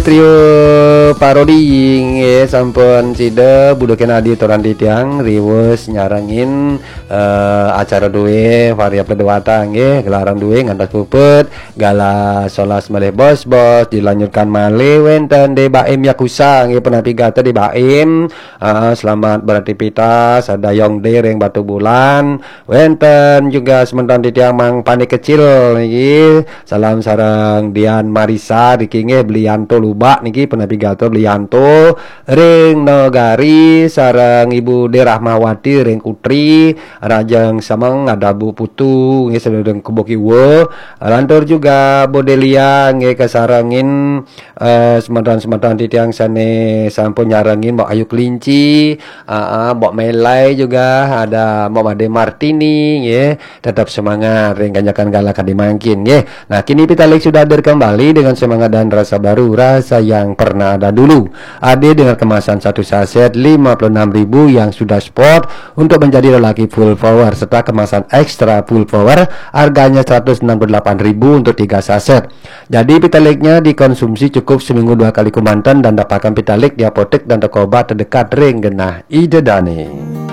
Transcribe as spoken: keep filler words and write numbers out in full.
Trio Parodi nggih, sampun sida budhaken adi toran titiang riwus nyarengin eh, acara duwe variable dewata nggih, gelaran duwe ngantos puput, galah solas malih bos-bos, dilanjutkan malih wenten De Baim Yakusa nggih, penapi gata De Baim. Ah, selamat beraktivitas, ada Yong De ring Batubulan, wenten juga semeton titiang Mang Panik Kecil niki. Salam sareng Dian Marisa niki nggih, Belianto Lubak niki, penapi gata Belianto ring Negari, sareng Ibu De Rahmawati ring Kutri, Rajang Semeng, ada Bu Putu nggih, sareng Kubu Kiwa. Lantur juga Bu Delia nggih, kasarengin eh, semeton-semeton titiang sane sampun nyarengin, Mbok Ayu Kelinci, ah, ah, Mbok Melai juga, ada Mbok Made Martini nggih. Tetap semangat ring kanyakan galah kadi mangkin nggih. Nah, kini Pitalik sudah hadir kembali dengan semangat dan rasa baru, rasa yang pernah ada dulu. Ade dengan kemasan satu saset lima puluh enam ribu yang sudah spot untuk menjadi lelaki full power, serta kemasan extra full power, harganya seratus enam puluh delapan ribu untuk tiga saset. Jadi, Pitaliknya dikonsumsi cukup seminggu dua kali kemanten dan dapatkan Pitalik di apotek dan toko obat terdekat ring genah Ida Dane.